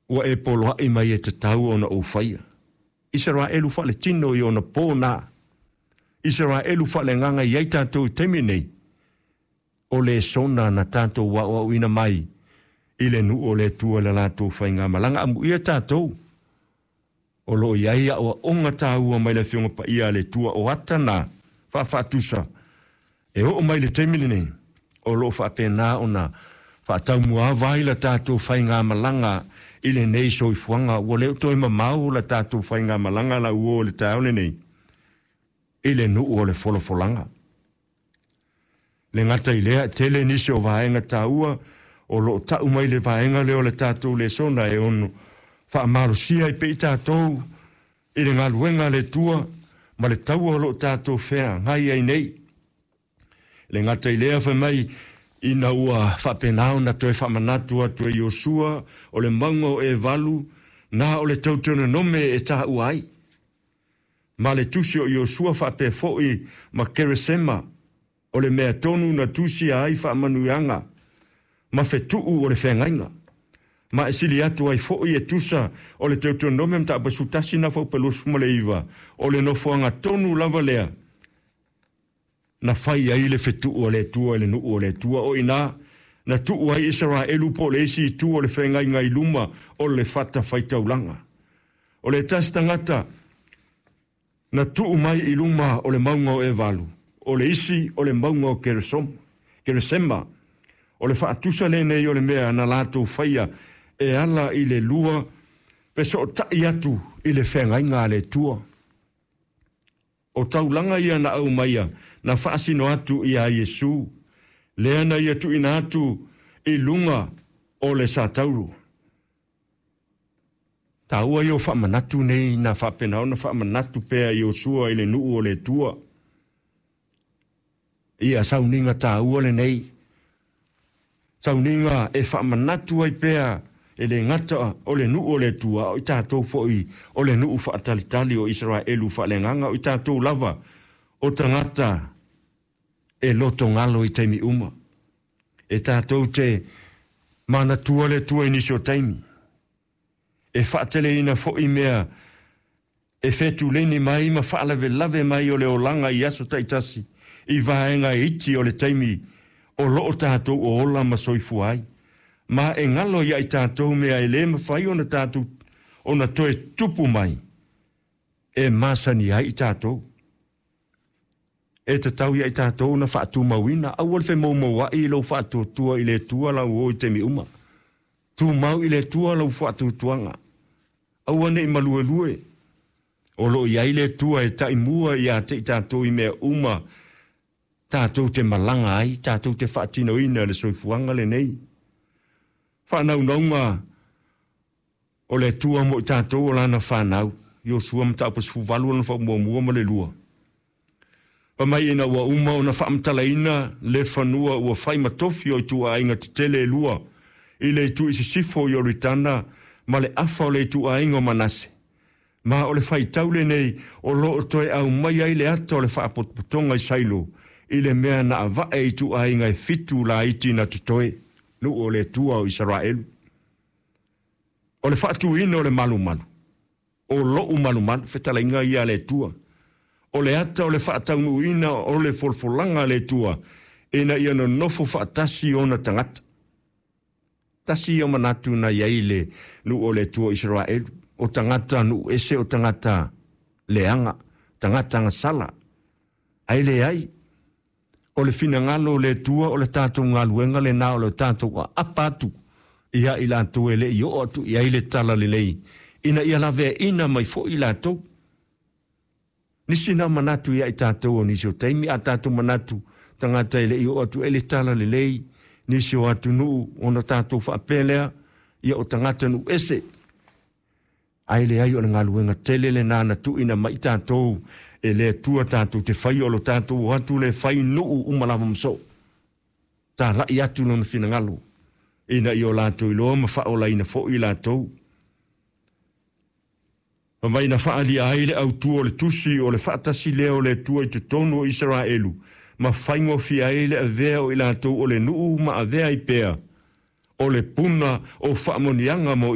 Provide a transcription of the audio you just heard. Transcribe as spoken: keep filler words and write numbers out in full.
Ua e poloaʻi mai e tatau ona ou faia. Isaraelu faaletino i ona pō na. Isaraelu faaleagaga i ai tatou i taimi nei. O lesona na tatou aoaoina mai i le nuu o le Atua i le latou faigamalaga. Amuia tatou o loo i ai aoaoga taua mai le Afioga Paia a le Atua o ata na faafaatusa e oo mai le taimi lenei o loo faapena ona faataumuaava ai la tatou faigamalaga i lenei soifuaga. Ua le o toe mamao la tatou faigamalaga la uo le taeao lenei i le nuu o le folafolaga. Le gata i lea, tele nisi o vaega taua o loo tau mai le vaega lea o le tatou lesona e ono faamalosia ai pea i tatou i le galuega a le Atua ma le taua o loo tatou feagai ai nei. Le gata i lea, fai mai ina ua faapena ona toe faamanatu atu e Iosua o le mauga o Evalu na o le Teutononome e taua ai. Ma le tusi o Iosua faapea foi ma Keresema o le mea tonu na tusia ai faamanuiaga ma fetuu o le feagaiga. Ma e sili atu ai foi e tusa o le Teutonome mataupu sefulu tasi na faupe luasefulu ma le iva o le nofoaga tonu lava lea na fai ai le fetuu o le Atua i le nuu o le Atua o ina na tuu ai Isaraelu po o le isi itu o le feagaiga i luma o le fatafaitaulaga. O le tasi tagata na tuu mai i luma o le mauga o Evalu, o le isi o le mauga o Keresom, Keresema. O le faatusa lenei o le mea na latou faia e ala i le lua fesootai atu i le feagaiga a le Atua. O taulaga ia na aumaia na faasino atu ia Iesu, lea na ia tuuina atu i luga o le satauro. Taua ia o faamanatu nei na faapena ona faamanatu pea Iosua i le nuu o le Atua. Ia sauniga taua lenei. Sauniga e faamanatu ai pea e le gata o le nuu o le Atua, o i tatou foi o le nuu faatalitali o Isaraelu faaleagaga, o i tatou lava o tagata e lotogalo i taimi uma. E tatou te manatua le Atua i nisi o taimi. E faateleina foi mea e fetuleni mai ma faalavelave mai o le olaga i aso taitasi i vaega e iti o le taimi o loo tatou o ola ma soifua ai. Ma e galo ia i tatou mea e le mafai ona tatou ona toe tupu mai e masani ai i tatou. E tatau ia i tatou na faatumauina, aua le femoumouai i lou faatuatua i le Atua lau o i taimi uma. Tumau i le Atua lau faatuatuaga. Aua nei maluelue. O loo i ai le Atua e taimua ia te i tatou i mea uma tatou te malaga ai, tatou te faatinoina le soifuaga lenei. Faanaunauga o le Atua mo i tatou o lana fanau. Iosua mataupu sefuluvalu ona faamuamua ma le lua. Fai mai ina ua uma ona faamatalaina le fanua ua fai ma tofi o ituaiga tetele e lua i le itu i sisifo o Ioritana ma le afa o le ituaiga o Manase. Ma o le faitau lenei o loo toe aumai ai le ata o le faapotopotoga i Sailo i le mea na avae ituaiga e fitu laiti na totoe, nuu o le Atua o Isaraelu. O le faatuina o le malumalu, o lou malumalu, fetalaiga ia a le Atua. O le ata o le faataunuuina o le folafolaga a le Atua, ina ia nonofo faatasi ona tagata. Tasi ia manatu na i ai le nuu o le Atua o Isaraelu, o tagata nuu ese o tagata leaga, tagata gasala. Ae leai, o le finagalo o le Atua o le tatou galuega lena o le tatou aapa atu ia i latou e le i oo atu i ai le tala lelei, ina ia laveaina mai foi i latou. Nisi na manatu ia i tatou o nisi o taimi, a tatou manatu tagata e le i oo atu e le tala lelei, nisi o atunuu ona tatou faapea lea, ia o tagata nuu ese. Ae leai, o le galuega tele lena na tuuina mai i tatou e le Atua tatou te faia o lo tatou o atu le fai nuu uma lava ma soo. Talai atu lona finagalo, ina ia o latou iloa ma faaolaina foi i latou. Fai mai na faaalia ai le autu o le tusi o le faatasi lea o le Atua i totonu o Isaraelu, ma faigofie ai le avea o i latou o le nuu ma avea ai pea o le puna o faamanuiaga mo